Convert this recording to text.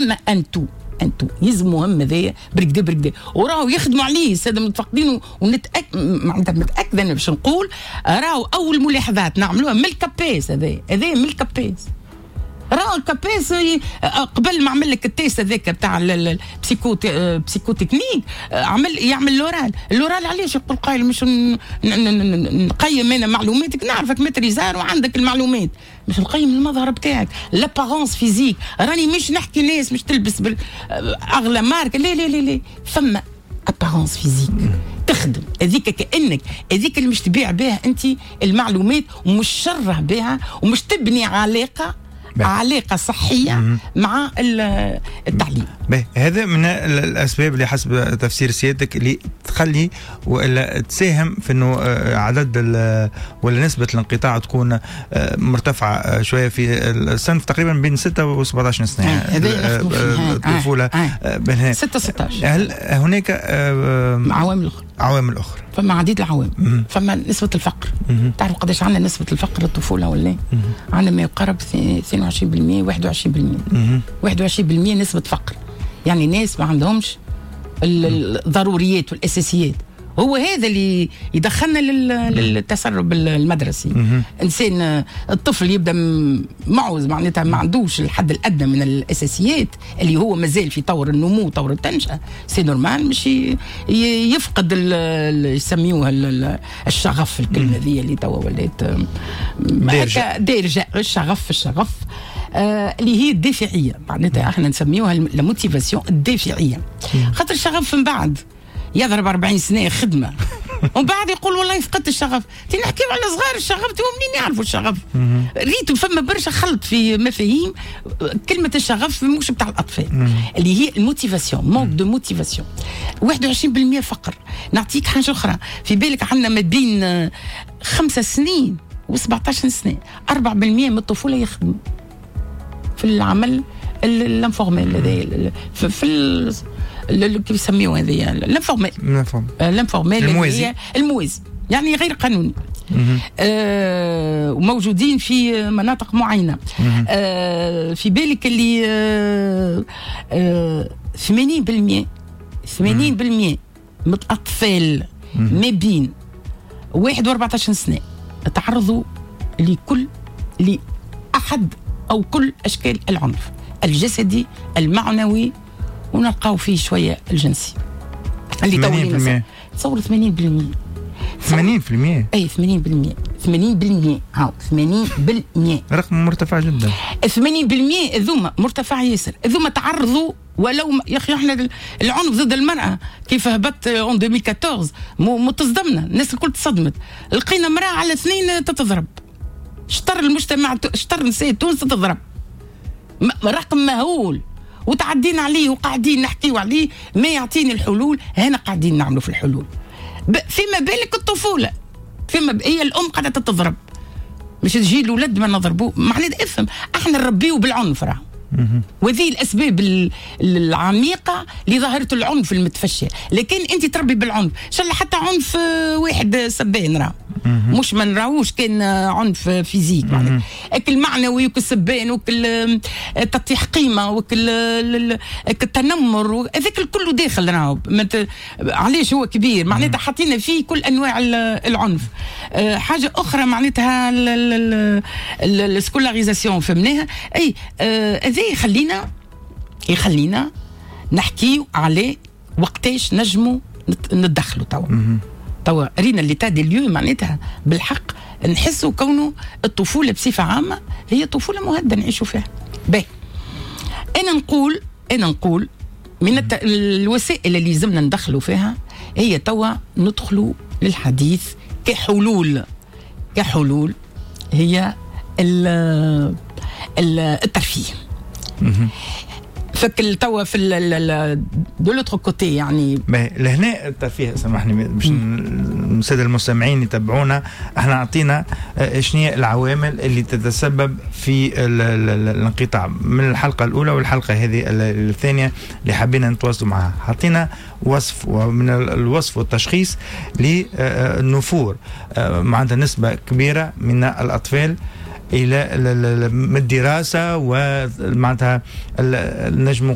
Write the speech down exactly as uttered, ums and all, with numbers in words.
فما un tout un tout يلزم مهم هذايا بالقدا بالقدا، وراهو يخدموا عليه السادة المتفقدين، ونتاكد معناتها متاكدة انا باش نقول راهو اول ملاحظات نعملوها من ال CAPES، هذايا هذايا من ال CAPES. راهو ال CAPES قبل ما عمل لك ال test هذاك بتاع ال psycho psychotechnique عمل يعمل l'oral. l'oral علاش؟ يقول قايل مش نقيم انا معلوماتك، نعرفك maîtrisard وعندك المعلومات، مش نقيم المظهر بتاعك، l'apparence physique. راني مش نحكي ناس مش تلبس اغلى marque، لا لا لا لا، فما apparence physique تخدم هذيك، كانك هذيك اللي مش تبيع بها انت المعلومات ومش شره بها ومش تبني علاقة بي. علاقة صحية مم. مع التعليم. باهي، هذا من الاسباب اللي حسب تفسير سيادتك اللي تخلي والا تساهم في انه آه، عدد ولا نسبه الانقطاع تكون آه، مرتفعة آه، شوية في الصنف تقريبا بين ستة و سبعطاش سنه، الطفوله بين ستة ستاش. هل هناك عوامل اخرى؟ عوامل اخرى؟ فما عديد العوامل. فما نسبه الفقر. تعرف قداش عندنا نسبه الفقر للطفوله ولا؟ عندنا ما يقارب اثنين وعشرين بالمية، واحد وعشرين بالمية، واحد وعشرين بالمية نسبه فقر، يعني ناس ما عندهمش الضروريات والاساسيات. هو هذا اللي يدخلنا للتسرب المدرسي. انسان الطفل يبدا معوز، معناتها ما عندوش الحد الادنى من الاساسيات، اللي هو مازال في طور النمو، طور التنشئه، c'est normal مش يفقد يسميوها الشغف، الكلمة ذي اللي توا ولات دارجه. دارجه، الشغف الشغف آه اللي هي الدافعيه، معناتها احنا نسميوها la motivation الدافعيه، خاطر الشغف من بعد يضرب أربعين سنة خدمة ومن بعد يقول والله فقدت الشغف. نحكيو على صغار، الشغف هو منين يعرفوا الشغف؟ ريتو فما برشا خلط في مفاهيم كلمة الشغف مش بتاع الاطفال، اللي هي ال motivation، manque de motivation، واحد وعشرين بالمية فقر. نعطيك حاجة اخرى، في بالك عندنا ما بين خمسة سنين وسبعطاش سنة أربعة بالمية من الطفولة يخدموا في العمل l'informel هذا، في, في كيف يسميوه هذه l'informel l'informel الموازي. الموازي يعني غير قانوني، آه وموجودين في مناطق معينه. آه في بالك اللي آه آه ثمانين بالمية ثمانين بالمية من الاطفال ما بين واحد و أربعطاش سنة تعرضوا لكل لاحد او كل اشكال العنف الجسدي، المعنوي، ونلقاو فيه شوية الجنسي. اللي تصور ثمانين بالمية. ثمانين بالمية؟ اي ثمانين بالمية، ثمانين بالمية، هاو ثمانين بالمية. رقم مرتفع جدا. ثمانين بالمية هذوما مرتفع ياسر، هذوما تعرضوا ولو يا اخي احنا العنف ضد المراة كيف هبط en ألفين وأربعطاش مو تصدمنا، الناس الكل تصدمت، لقينا مراة على اثنين تتضرب، شطر المجتمع، شطر نساء تونس تتضرب، رقم مهول وتعدينا عليه وقاعدين نحكيو عليه، ما يعطيني الحلول. هنا قاعدين نعملوا في الحلول. فيما بالك الطفوله، فيما هي الام قاعدة تتضرب، مش تجي الولد ما نضربوه. معناتها افهم، احنا نربيه بالعنف راه، وهذه الاسباب العميقة لظاهره العنف المتفشيه. لكن انت تربي بالعنف، ان شاء الله حتى عنف واحد سبان راه مش ما نراوش كان عنف physique، معناتها اكل معنوي وكل سبان وكل تطيح قيمة وكل التنمر، هذاك الكل داخل راهو. علاش هو كبير؟ معناتها حاطين فيه كل انواع العنف. آه، حاجة اخرى معناتها ال scolarisation فهمناها. اي آه، هذا يخلينا يخلينا نحكيو على وقتاش نجموا نتدخلوا. توا توا رينا l'état des lieux، معناتها بالحق نحسوا كونه الطفولة بصفة عامة هي طفولة مهددة نعيشوا فيها. باهي، انا نقول انا نقول من الت... الوسائل اللي لازمنا ندخلوا فيها هي توا ندخلوا للحديث كحلول كحلول هي ال... الترفيه. فك توا في de l'autre côté يعني. لهنا الترفيه، سامحني باش السادة المستمعين يتبعونا، احنا اعطينا آه، شنو هي العوامل اللي تتسبب في الانقطاع من الحلقة الاولى والحلقة هذه الثانية اللي حبينا نتواصلوا معها. حطينا وصف، ومن الوصف والتشخيص للنفور آه، معناتها نسبه كبيرة من الاطفال. الى من الدراسة ومعناتها نجم.